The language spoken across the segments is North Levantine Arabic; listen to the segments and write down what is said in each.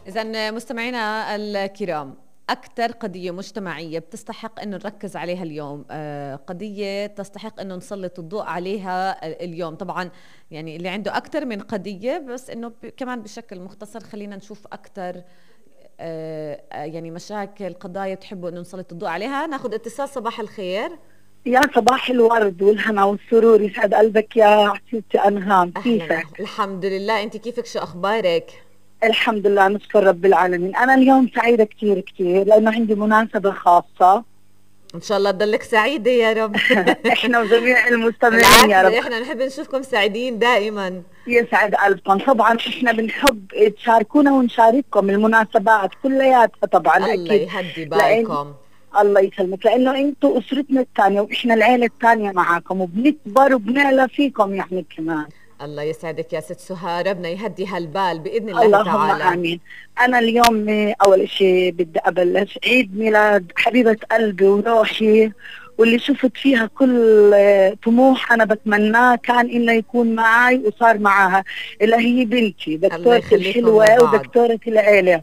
إذن مستمعينا الكرام، أكثر قضية مجتمعية بتستحق إنه نركز عليها اليوم، قضية تستحق إنه نسلط الضوء عليها اليوم. طبعا يعني اللي عنده أكثر من قضية، بس إنه كمان بشكل مختصر خلينا نشوف أكثر يعني مشاكل قضايا بتحبوا إنه نسلط الضوء عليها. ناخذ اتصال. صباح الخير. يا صباح الورد والهنا والسرور، يسعد قلبك يا عزيزتي أنهام. كيفك؟ الحمد لله، أنت كيفك؟ شو أخبارك؟ الحمد لله، نشكر رب العالمين. أنا اليوم سعيدة كتير كتير لأنه عندي مناسبة خاصة. إن شاء الله تضلك سعيدة يا رب. إحنا وجميع المستمعين يا رب. إحنا نحب نشوفكم سعيدين دائما. يسعد قلبكم. طبعا إحنا بنحب تشاركونا ونشارككم المناسبات كلياتها طبعا. الله أكيد يهدي بالكم. الله يسلمك، لأنه أنتوا أسرتنا الثانية وإحنا العيلة الثانية معاكم، وبنكبر وبنعلى فيكم يعني كمان. الله يسعدك يا ست سهى، ربنا يهدي هالبال بإذن الله اللهم تعالى. اللهم آمين. أنا اليوم أول شيء بدي أبلش عيد ميلاد حبيبة قلبي وروحي، واللي شفت فيها كل طموح أنا بتمناه كان إنه يكون معي وصار معاها، اللي هي بنتي دكتورتي الحلوة ودكتورة العيلة.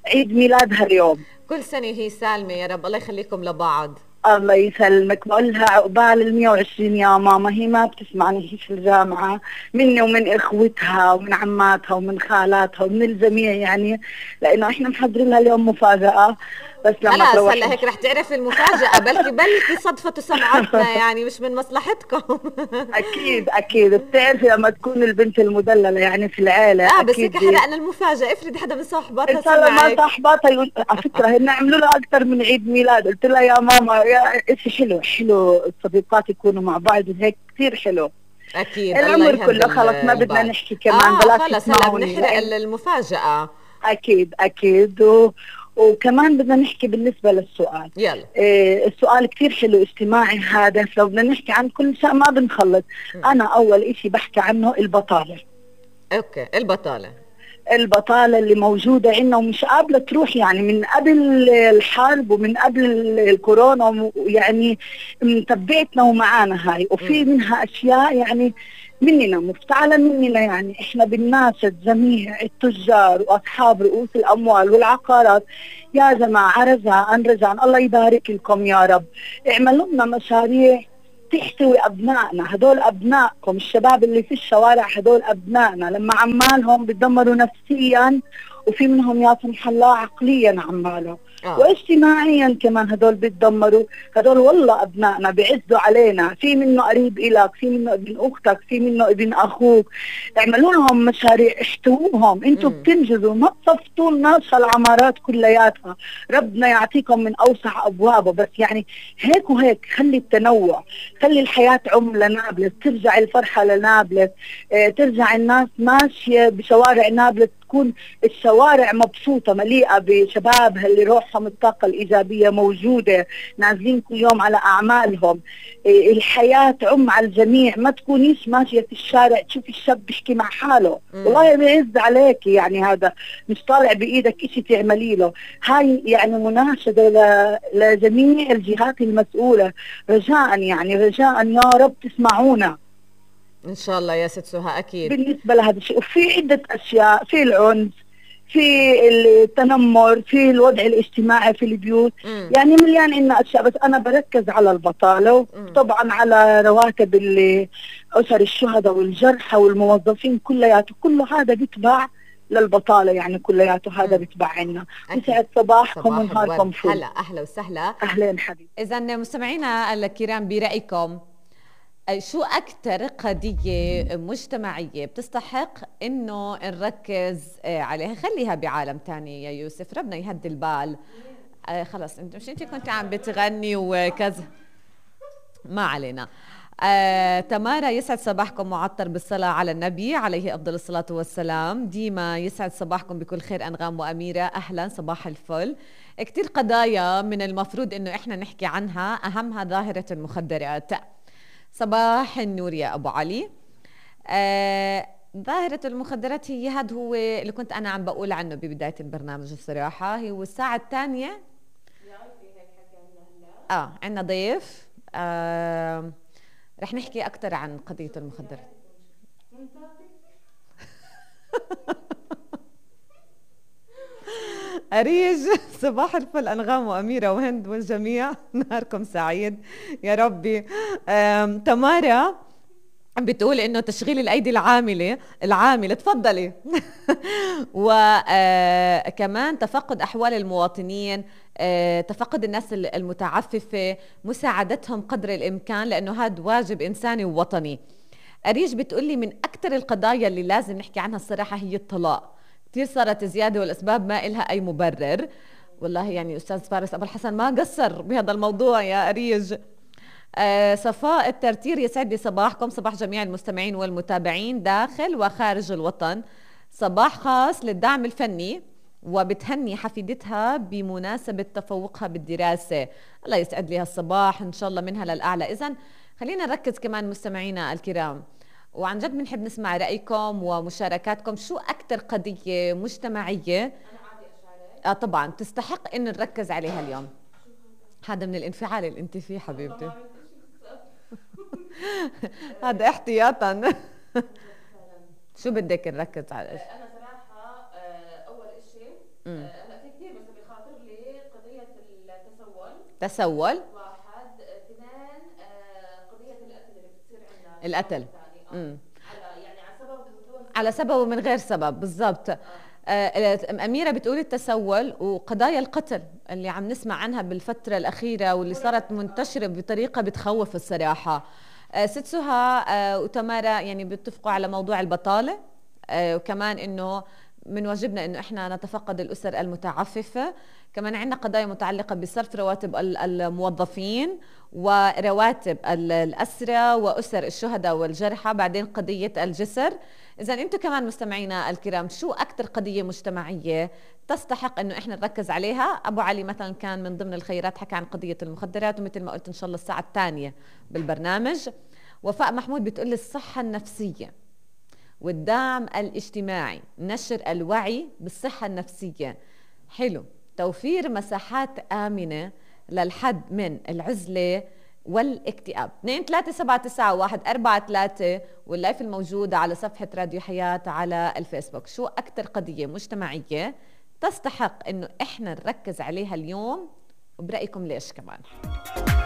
عيد ميلادها اليوم. كل سنة هي سالمة يا رب، الله يخليكم لبعض. الله يسلمك. بقول لها عقبال 120 يا ماما. هي ما بتسمعني، هي في الجامعة، مني ومن اخوتها ومن عماتها ومن خالاتها ومن الجميع يعني، لانه احنا محضرين لها اليوم مفاجأة. بس لما خلاص هلا هيك رح تعرف المفاجأة. بلكي صدفة سمعتنا يعني مش من مصلحتكم. اكيد اكيد. بتعرفي لما تكون البنت المدللة يعني في العيلة بس هيك حرقنا المفاجأة. افرض حدا من صاحباتها ان شاء الله ما صاحباتها على فكرة هن عملوا لها اكثر من عيد ميلاد. قلت لها يا ماما يا اشي حلو الصديقات يكونوا مع بعض وهيك كثير حلو. اكيد. العمر كله خلص ما بدنا نحكي كمان. خلص هلا بنحرق المفاجأة. اكيد اكيد. وكمان بدنا نحكي بالنسبة للسؤال. يلا. السؤال كثير حلو اجتماعي هادف، لو بدنا نحكي عن كل شيء ما بنخلص. انا اول اشي بحكي عنه البطالة. اوكي. البطالة اللي موجودة عندنا ومش قابلة تروح، يعني من قبل الحرب ومن قبل الكورونا يعني متبعتنا ومعانا هاي. وفي منها أشياء يعني مننا مفتعلة مننا، يعني إحنا بنناشد جميع التجار وأصحاب رؤوس الأموال والعقارات، يا جماعة رجاء الله يبارك لكم يا رب، اعملوا لنا مشاريع تحتوي أبنائنا. هدول أبنائكم الشباب اللي في الشوارع، هدول أبنائنا لما عمالهم بتدمروا نفسيا، وفي منهم يا سمح الله عقليا عمالهم واجتماعيا كمان هدول بتدمروا. هدول والله أبنائنا بيعزوا علينا، في منه قريب إلك، في منه ابن أختك، في منه ابن أخوك. اعملوا لهم مشاريع، احتووهم. انتوا بتنجزوا، ما تصفتوا الناس العمارات كلياتها. ربنا يعطيكم من أوسع أبوابه، بس يعني هيك وهيك. خلي التنوع، خلي الحياة لنابلس، ترجع الفرحة لنابلس، ترجع الناس ماشية بشوارع نابلس، تكون الشوارع مبسوطة مليئة بشبابها اللي روحهم الطاقة الإيجابية موجودة، نازلين كل يوم على أعمالهم. الحياة تعم على الجميع، ما تكونيش ماشية في الشارع تشوفي الشاب بيحكي مع حاله والله بيعز عليك، يعني هذا مش طالع بإيدك إشي تعملي له. هاي يعني مناشدة لجميع الجهات المسؤولة، رجاء يا رب تسمعونا ان شاء الله يا ست سهى. اكيد بالنسبه لهذا الشيء. وفي عده اشياء، في العنف، في التنمر، في الوضع الاجتماعي في البيوت، يعني مليان عنا اشياء، بس انا بركز على البطاله، وطبعا على رواتب اسر الشهداء والجرحى والموظفين كلياته، كله هذا بيتبع للبطاله، يعني كلياته هذا بيتبع عنا. يسعد صباحكم ونهاركم فل. هلا اهلا وسهلا. اهلين حبيبي. اذا مستمعينا الكرام، برايكم شو أكتر قضية مجتمعية بتستحق إنه نركز عليها؟ خليها بعالم تاني يا يوسف، ربنا يهدي البال. خلص مش انت كنت عم بتغني وكذا، ما علينا. تمارا، يسعد صباحكم معطر بالصلاة على النبي عليه أفضل الصلاة والسلام. ديما، يسعد صباحكم بكل خير أنغام وأميرة، أهلا صباح الفل. كتير قضايا من المفروض إنه إحنا نحكي عنها، أهمها ظاهرة المخدرات. صباح النور يا أبو علي. ظاهرة المخدرات هو اللي كنت أنا عم بقول عنه ببداية البرنامج الصراحة. هو الساعة الثانية عنا ضيف رح نحكي أكتر عن قضية المخدرات. أريج صباح الفل أنغام وأميرة وهند والجميع، نهاركم سعيد يا ربي. تمارا بتقول إنه تشغيل الأيدي العاملة تفضلي. وكمان تفقد أحوال المواطنين، تفقد الناس المتعففة، مساعدتهم قدر الإمكان لأنه هذا واجب إنساني ووطني. أريج بتقولي من أكتر القضايا اللي لازم نحكي عنها الصراحة هي الطلاق، كتير صارت زيادة والأسباب ما إلها أي مبرر. والله يعني أستاذ فارس أبو الحسن ما قصر بهذا الموضوع يا أريج. صفاء الترتير يسعد لي صباحكم، صباح جميع المستمعين والمتابعين داخل وخارج الوطن. صباح خاص للدعم الفني وبتهني حفيدتها بمناسبة تفوقها بالدراسة. الله يسعد لي هالصباح إن شاء الله منها للأعلى. إذن خلينا نركز كمان مستمعينا الكرام، وعن جد بنحب نسمع رأيكم ومشاركاتكم. شو أكتر قضية مجتمعية أنا عادي أشارك؟ طبعا تستحق إن نركز عليها اليوم؟ هذا من الانفعال اللي انت فيه حبيبتي. هذا احتياطا. شو بدك نركز على؟ انا صراحه اول شيء هلا في كثير بس بخاطر لي قضيه التسول. واحد، اثنين قضيه القتل اللي بتصير عندنا. القتل على سبب ومن غير سبب بالضبط. أميرة بتقول التسول وقضايا القتل اللي عم نسمع عنها بالفترة الأخيرة واللي صارت منتشرة بطريقة بتخوف الصراحة. ست سهى وتمارا يعني بيتفقوا على موضوع البطالة، وكمان إنه من واجبنا إنه إحنا نتفقد الأسر المتعففة. كمان عندنا قضايا متعلقة بصرف رواتب الموظفين ورواتب الأسرى وأسر الشهداء والجرحى، بعدين قضية الجسر. إذا أنتم كمان مستمعينا الكرام شو أكتر قضية مجتمعية تستحق إنه إحنا نركز عليها؟ أبو علي مثلا كان من ضمن الخيرات حكى عن قضية المخدرات، ومثل ما قلت إن شاء الله الساعة الثانية بالبرنامج. وفاء محمود بتقول الصحة النفسية والدعم الاجتماعي، نشر الوعي بالصحة النفسية. حلو، توفير مساحات آمنة للحد من العزلة والاكتئاب. 2379143 واللايف الموجودة على صفحة راديو حياة على الفيسبوك. شو أكتر قضية مجتمعية تستحق إنه إحنا نركز عليها اليوم، وبرأيكم ليش كمان؟